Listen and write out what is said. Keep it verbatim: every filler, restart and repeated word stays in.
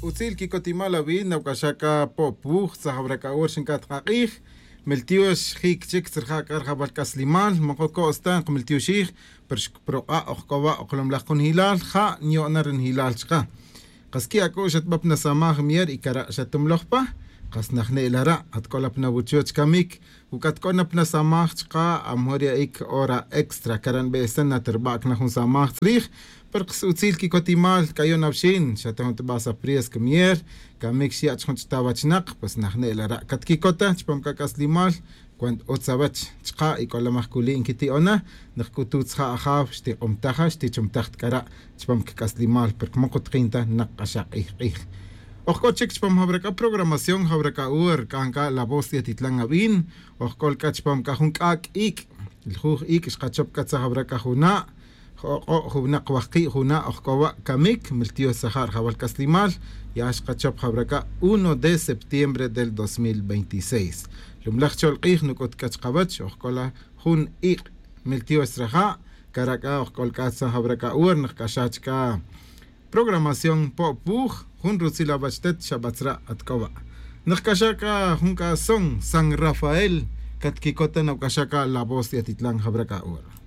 Utzil quicotimal awi nawc'axa c'a po'puj tzajawra c'a hora xinc'at k'a k'ij. Miltiox jic chic tzrija' c'a rjawal c'aslimal moco co'sta nkmiltioxij. Pero xprok'a' ojc'owa' oklomlaj kunjilal ja' nyo'na ri njilal chka. Kas qui' ac'u' xatba pa nasamaj mier y cara' xatumloj pa. Kas najne'la ra' atc'ola pa nawuchoch camic. Uc'at c'o na pa nasamaj chka amejor ya'ic hora extra cara' nbe'esan natrbac na jun samaj tzrij. Pero kas utzil quicotimal c'a yo'na wxin xata jun tba sapriesca mier. Camic xya' chi jun ch'ta wachnak pues najne'la ra' catquicota chupam c'a c'aslimal. Cuant utz awech chka' y c'olamaj culi' nquiti'ona. Nak c'ututz ja' ajaw xtik'umtaja xtichumtaj ta c'ara' chupam cac'aslimal porque mokutkin ta nak k'axak k'ij k'ij. Ojc'o chic chupam jawra c'a programación jawra c'a hora c'an c'a la voz de atitlan awin. Ojc'ol c'a chupam c'a jun c'ac' ic'. Ljuj ic' xkachop c'a tzajawra c'a juna'. Ok'o' juwnak wajki' juna' ojc'owa' camic miltiox tzaja' rjawal c'aslimal. Ya xkachop jawra c'a uno de septiembre del dos mil veintiséis. Lumlaj chol k'ij nuc'ut c'a chkawech ojc'ola jun ik' miltiox tzraja'. Cara' c'a ojc'ol c'a tzajawra c'a hora nak c'axa chca programación po'puj. Jun rutzil awech tet xabatzra' atc'owa'. Nak c'axa c'a jun c'a son san rafael. Catquicota nawc'axa c'a la voz de atitlan jawra c'a hora.